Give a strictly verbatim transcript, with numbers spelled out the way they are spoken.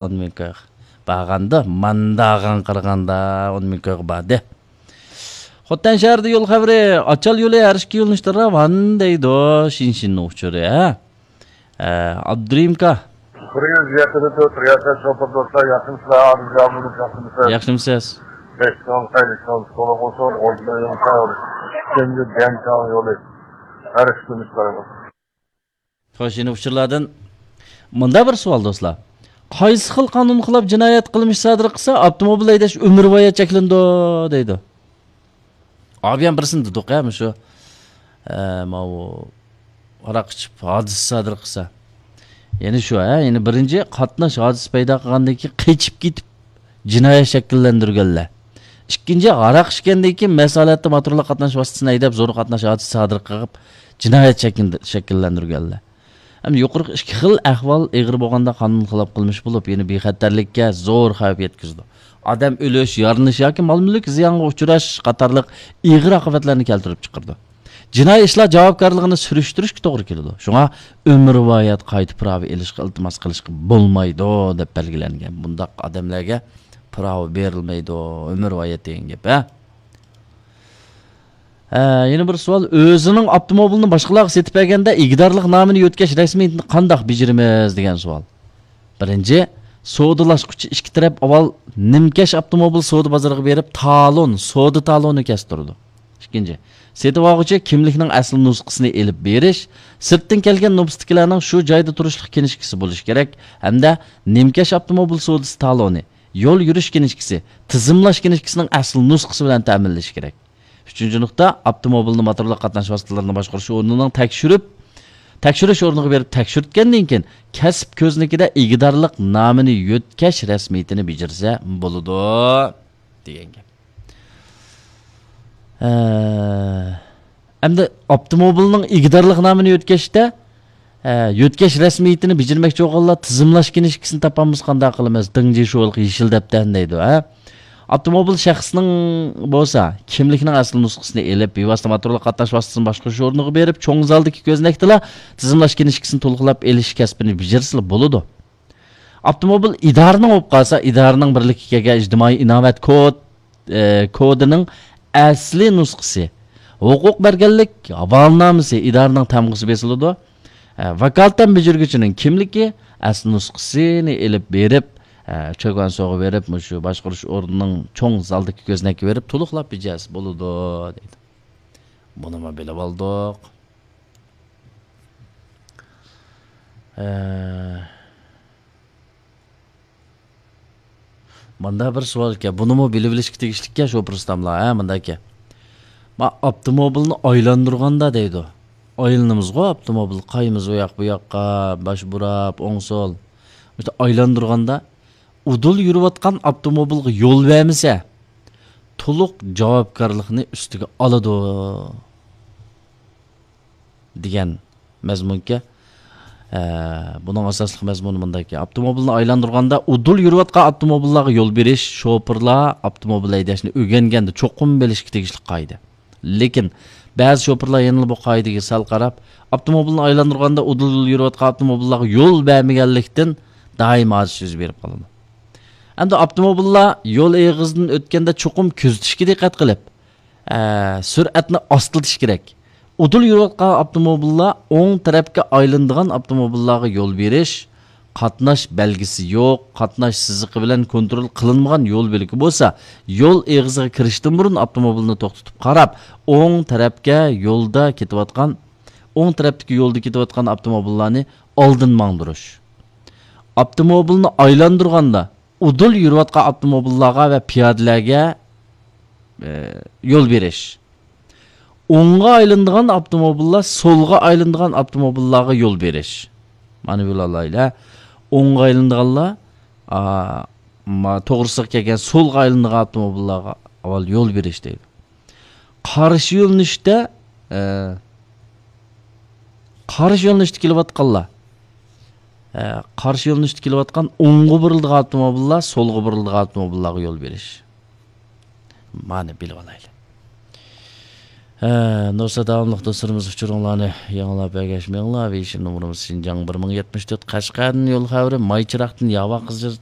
ئون مىڭ كويغا بارغاندا، مانداغان قارىغاندا ئون مىڭ كويغا باردى. خوتەن شەھىرىدە يول خەۋىرى، ئاچال يولى ھەر ئىككى يۆنىلىشتە راۋان دەيدۇ، شىنشىننىڭ ئۇچۇرى، ھە؟ ئە، ئابدۇرېھىمكا. بىر يۈز يەتتە تۆت رىياسەت شوپۇر دوستلار، ياخشىمۇسىلەر؟ ئادىل جامۇنىڭ ياخشىمۇسىز؟ ياخشىمۇسىز؟ بەك چوڭ، خەيرى چوڭ، سولۇق بولسۇن، ئوردا يول، كەنجى دەنچاڭ يولى. ھەر ئىككى يۆنىلىشتە راۋان. خوش، يەنە ئۇچۇرلاردىن مۇنداق بىر سوئال، دوستلار. قايسى خىل قانۇن خىلاپ جىنايەت قىلمىش سادىر قىلسا، ئاپتوموبىل ھەيدەش ئۆمۈرۋايەت چەكلىنىدۇ، دەيدۇ. ئابىيان بىرسىنى دېدۇق، ھە، مۇشۇ، ئە، ماۋۇ ھاراق ئىچىپ ھادىسە سادىر قىلسا. يەنە شۇ، ھە، يەنە بىرىنچى، قاتناش ھادىسە پەيدا قىلغاندىن كېيىن قېچىپ كېتىپ، جىنايەت شەكىللەندۈرگەنلەر. ئىككىنچى، ھاراق ئىچكەندىن كېيىن مەست ھالەتتە موتورلۇق قاتناش ۋاسىتىسىنى ھەيدەپ، زور قاتناش ھادىسىسى سادىر قىلىپ، جىنايەت شەكىل-، شەكىللەندۈرگەنلەر. ھەم يۇقىرىقى ئىككى خىل ئەھۋال ئېغىر بولغاندا قانۇن خىلاپ قىلمىش بولۇپ، يەنە بىخەتەرلىككە زور خەۋپ يەتكۈزىدۇ. ئادەم ئۆلۈش، يارىلىنىش ياكى مال-مۈلۈك زىيانغا ئۇچراش قاتارلىق ئېغىر ئاقىۋەتلەرنى كەلتۈرۈپ چىقىرىدۇ. جىنايى ئىشلار جاۋابكارلىقىنى سۈرۈشتۈرۈشكە توغرا كېلىدۇ. شۇڭا ئۆمۈرۋايەت قايتا پىراۋا ئېلىشقا ئىلتىماس قىلىشقا بولمايدۇ، دەپ بەلگىلەنگەن. بۇنداق ئادەملەرگە پىراۋا بېرىلمەيدۇ، ئۆمۈرۋايەت دېگەن گەپ، ھە؟ ھە، يەنە بىر سوئال، ئۆزىنىڭ ئاپتوموبىلىنى باشقىلارغا سېتىپ بەرگەندە ئىگىدارلىق نامىنى يۆتكەش رەسمىيىتىنى قانداق بېجىرىمىز، دېگەن سوئال. بىرىنچى، سودىلاشقۇچى ئىككى تەرەپ ئاۋۋال نىمكەش ئاپتوموبىل سودا بازىرىغا بېرىپ، تالون، سودا تالونى كەستۈرىدۇ. ئىككىنچى، سېتىۋالغۇچى كىملىكنىڭ ئەسلى نۇسخىسىنى ئېلىپ بېرىش، سىرتتىن كەلگەن نوپۇستىكىلەرنىڭ شۇ جايدا تۇرۇشلۇق كىنىشكىسى بولۇشى كېرەك ھەمدە نىمكەش ئاپتوموبىل سودىسى تالونى، يول يۈرۈش كىنىشكىسى، تىزىملاش كىنىشكىسىنىڭ ئەسلى نۇسخىسى بىلەن تەمىنلىشى كېرەك. ئۈچىنچى نۇقتا، ئاپتوموبىلنى موتورلۇق قاتناش ۋاسىتىلىرىنى باشقۇرۇش ئورنىنىڭ تەكشۈرۈپ، تەكشۈرۈش ئورنىغا بېرىپ تەكشۈرتكەندىن كېيىن، كەسىپ كۆزنىكىدە ئىگىدارلىق نامىنى يۆتكەش رەسمىيىتىنى بېجىرسە بولىدۇ، دېگەن گەپ. ئە، ئەمدى ئاپتوموبىلنىڭ ئىگىدارلىق نامىنى يۆتكەشتە، ئە، يۆتكەش رەسمىيىتىنى بېجىرمەكچى بولغانلار تىزىملاش كىنىشكىسىنى تاپالمىسا قانداق قىلىمىز؟ دىڭجى شۇلۇق يېشىل دەپتەرنى دەيدۇ، ھە؟ ئاپتوموبىل شەخسنىڭ بولسا، كىملىكنىڭ ئەسلى نۇسخىسىنى ئېلىپ، بىۋاسىتە موتورلۇق قاتناش ۋاسىتىسىنى باشقۇرۇش ئورنىغا بېرىپ، چوڭ زالدىكى كۆزنەكتىلا تىزىملاش كىنىشكىسىنى تولۇقلاپ ئېلىش كەسپىنى بېجىرسىلا بولىدۇ. ئاپتوموبىل ئىدارىنىڭ بولۇپ قالسا، ئىدارىنىڭ بىرلىككە كەلگەن ئىجتىمائىي ئىناۋەت كود، ئە، كودىنىڭ ئەسلى نۇسخىسى، ھوقۇق بەرگەنلىك ھاۋالىنامىسى ئىدارىنىڭ تامغىسى بېسىلىدۇ. ئە، ۋاكالىتەن بېجىرگۈچىنىڭ كىملىكى، ئەسلى نۇسخىسىنى ئېلىپ بېرىپ، ئە، چوكانسوغا بېرىپ، مۇشۇ باشقۇرۇش ئورنىنىڭ چوڭ زالدىكى كۆزنەككە بېرىپ، تولۇقلاپ بېجىرسە بولىدۇ، دەيدۇ. بۇنىمۇ بىلىۋالدۇق. ئە، ماندا بىر سوئال ئىكەن، بۇنىمۇ بىلىۋېلىشقا تېگىشلىككەن شوپۇر ئۇستاملار، ھە، ماندا ئىكەن. ما ئاپتوموبىلنى ئايلاندۇرغاندا دەيدۇ. ئايلىنىمىزغۇ ئاپتوموبىل، قايىمىز ئۇ ياق بۇ ياققا، باش بۇراپ، ئوڭ سول. مۇشۇنداق ئايلاندۇرغاندا، ئۇدۇل يۈرۈۋاتقان ئاپتوموبىلغا يول بەرمىسە، تولۇق جاۋابكارلىقنى ئۈستىگە ئالىدۇ. دېگەن مەزمۇنكەن. ئە، بۇنىڭ ئاساسلىق مەزمۇنى مۇنداككەن. ئاپتوموبىلنى ئايلاندۇرغاندا ئۇدۇل يۈرۈۋاتقان ئاپتوموبىللارغا يول بېرىش، شوپۇرلار ئاپتوموبىل ھەيدەشنى ئۆگەنگەندە چوقۇم بىلىشكە تېگىشلىك قائىدە. لېكىن بەزى شوپۇرلار يەنىلا بۇ قائىدىگە سەل قاراپ، ئاپتوموبىلنى ئايلاندۇرغاندا ئۇدۇل يۈرۈۋاتقان ئاپتوموبىللارغا يول بەرمىگەنلىكتىن دائىم ھادىسە يۈز بېرىپ قالىدۇ. ئەمدى ئاپتوموبىللار يول ئېغىزىدىن ئۆتكەندە چوقۇم كۆزىتىشكە دىققەت قىلىپ، ئە، سۈرئەتنى ئاستىلىتىش كېرەك. ئۇدۇل يۈرۈۋاتقان ئاپتوموبىللار ئوڭ تەرەپكە ئايلىنىدىغان ئاپتوموبىللارغا يول بېرىش، قاتناش بەلگىسى يوق، قاتناش سىزىقى بىلەن كونترول قىلىنمىغان يول بۆلىكى بولسا، يول ئېغىزىغا كىرىشتىن بۇرۇن ئاپتوموبىلنى توختىتىپ قاراپ، ئوڭ تەرەپكە يولدا كېتىۋاتقان، ئوڭ تەرەپتىكى يولدا كېتىۋاتقان ئاپتوموبىللارنى ئالدىن ماڭدۇرۇش. ئاپتوموبىلنى ئايلاندۇرغاندا، ئۇدۇل يۈرۈۋاتقان ئاپتوموبىللارغا ۋە پىيادىلەرگە، ئە، يول بېرىش. ئوڭغا ئايلىنىدىغان ئاپتوموبىللار، سولغا ئايلىنىدىغان ئاپتوموبىللارغا يول بېرىش. مانا بىلىۋالايلى. ئوڭغا ئايلىنىدىغانلار، ئا، ما-، توغرىسىغا كەلگەن سولغا ئايلىنىدىغان ئاپتوموبىللارغا ئاۋۋال يول بېرىش دەيدۇ. قارشى يۆنىلىشتە، ئە، قارشى يۆنىلىشتە كېلىۋاتقانلار، ئە، قارشى يۆنىلىشتە كېلىۋاتقان ئوڭغا بۇرۇلىدىغان ئاپتوموبىللار، سولغا بۇرۇلىدىغان ئاپتوموبىللارغا يول بېرىش. مانا بىلىۋالايلى. ھە، نۇرسا داۋاملىق دوستلىرىمىز ئۇچۇرۇڭلارنى ياڭلاپ ئەگەشمەڭلار. ۋېيشىن نومۇرىمىز شىنجاڭ بىر مىڭ يەتمىش تۆت، قەشقەردىن يول خەۋىرى، ماي چىراغدىن ياۋا قىزىل